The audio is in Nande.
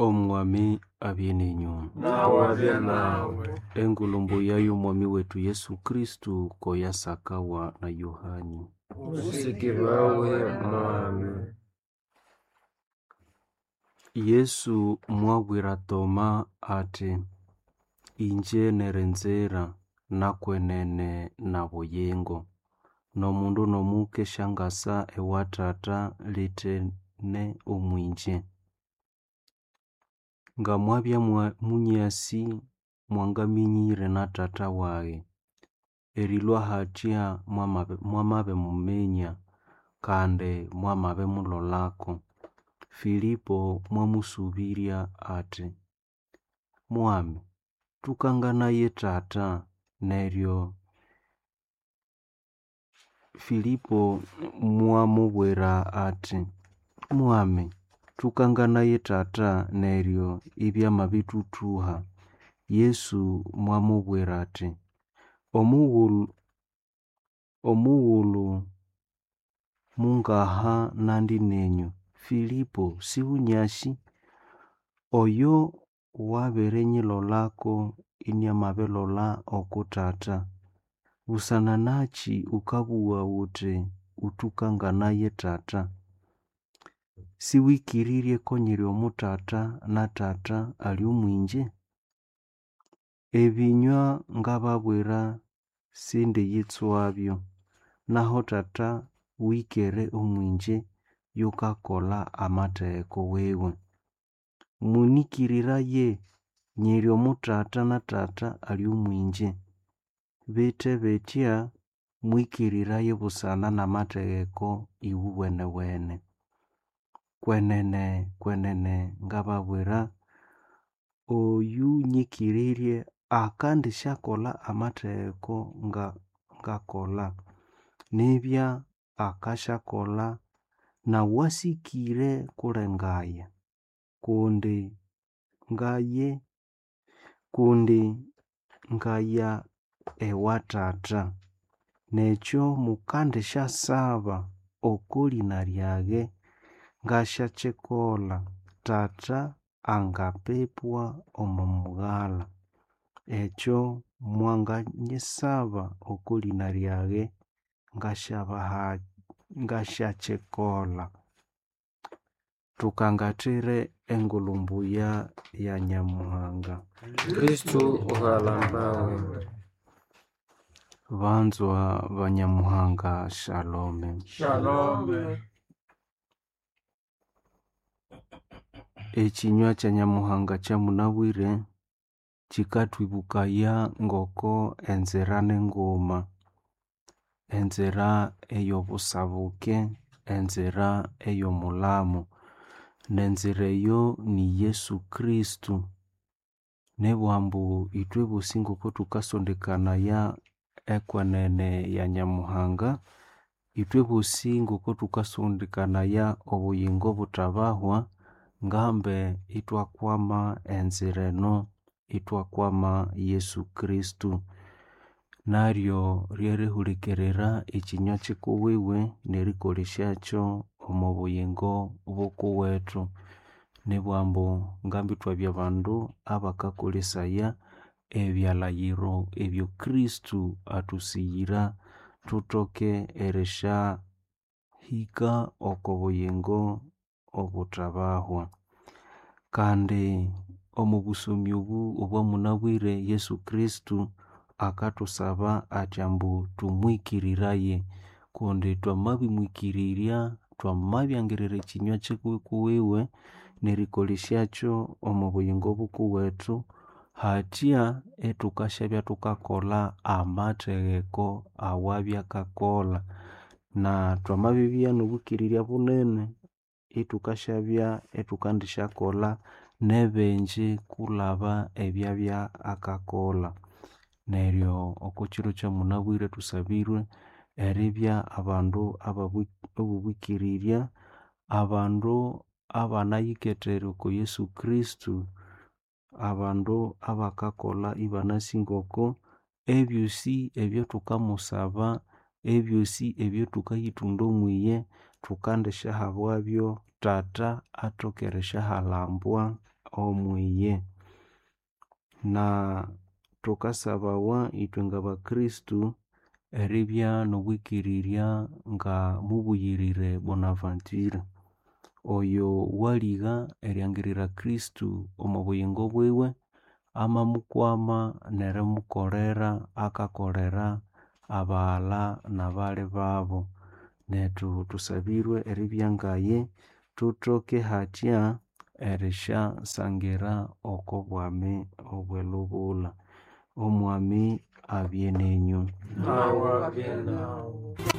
Omwami abye nenyu. Nawe abye nawe. Engulumbu yayo Omwami wetu Yesu Kristu koyasakawa na Yohani. Usikibawe Mwami. Yesu mwabwira Toma ati, Inje nerenzera nakwenene na buyingo. N'omundu n'omuke syangasa ewa Tata lithene omwinje. Ngamwabya munyasi mwangaminyire na Tata wage. Erilwa hatya mwamabimuminya kandi mwamabimulolako. Filipo mwamusubirya ati, Mwami, tukanganaye Tata neryo Filipo mwamubwira ati, Mwami, tukanganaye Tata neryo ibyamabithuthuha. Yesu mwamubwira ati, Omughulhu mungaha nandi nenyu, Filipo siwunyasi? Oyo wabirinyilolako iniamabilola oku Tata. Busana nakyi wukabugha wuthi wuthukanganaye Tata? Siwikirirye ko nyiri omu Tata na Tata ali omwinje? Ebinywa ngababwira sindiyitswabyo, naho Tata wikere omwinje yukakolha amatheko wiwe. Munyikiriraye, nyiri omu Tata na Tata ali omwinje. Bithe bithya mwikiriraye busana namatheko iwuwenewene. Kwenene kwenene ngababwira, oyunyikirirye akandisyakolha amatheko ngakolha, nibya akasyakolha nawasikire kulengaya, kundi ngaya ewa Tata. Nekyo mukandisyasaba oko lina lyage ngasyakikolha, Tata angapepwa omo mughalha. Ekyo mwanganyisaba oko lina lyage ngasyakikolha. Thukangathire engulumbuya ya Nyamuhanga. Kristu uhalambawe. Banzwa ba Nyamuhanga, Shalome. Shalome. Ekinywa kya Nyamuhanga kyamunabwire kikathwibukaya ngoko enzira ninguma, enzira eyobusabuke, enzira eyomulamo, nenzira eyo ni Yesu Kristu. Nibugha ambu ithwe bosi ngoko thukasondekanaya ekwenene ya Nyamuhanga, ithwe bosi ngoko thukasondekanaya obuyingo obuthabahwa, ngambe ithwakwama enzira eno, ithwakwama Yesu Kristu. Naryo ryerihulikirira ekinywa kikuwiwe nerikolesyakyo omo buyingo bukuwethu. Nibugha ambu ngambi ithwabya bandu abakakolesaya ebyalhayiro ebyo Kristu athusighira thuthoke erisyahika oko buyingo obuthabahwa. Kandi omo busomi obu obwamunabwire Yesu Kristu akathusaba athi ambu thumwikiriraye kundi twamabimwikirirya, twamabyangirira ekinywa kikuwiwe nerikolesyakyo omo buyingo bukuwethu, hathya ithukasyabya thukakolha amathegeko awabya akakolha. Na twamabibya nobwikirirya bunene, ithukasyabya ithukandisyakolha nebingi kulhaba ebyabya akakolha. Neryo okokyiro kyamunabwire thusabirwe eribya abandu abobwikirirya, abandu abanayikethere oko Yesu Kristu, abandu abakakolha ibanasi ngoko ebyosi ebyathukamusaba, ebyosi ebyathukayithunda omwiye, thukandisyahabwabyo Tata athoke erisyahalhambwa. omwiye. Na thukasabawa ithwe ngabakristu eribya nobwikirirya nga mubuyirire Bonaventure, oyo waligha eriangirira Kristu omwa buyingo bwiwe, amamukwama nerimukolera akakolera abaghalha nabali babu. Nethu thusabirwe eribya ngaye thuthoke hathya erisyasangira oko bwami obwelubulha. Omwami abye nenyu. Nawu abye nawu.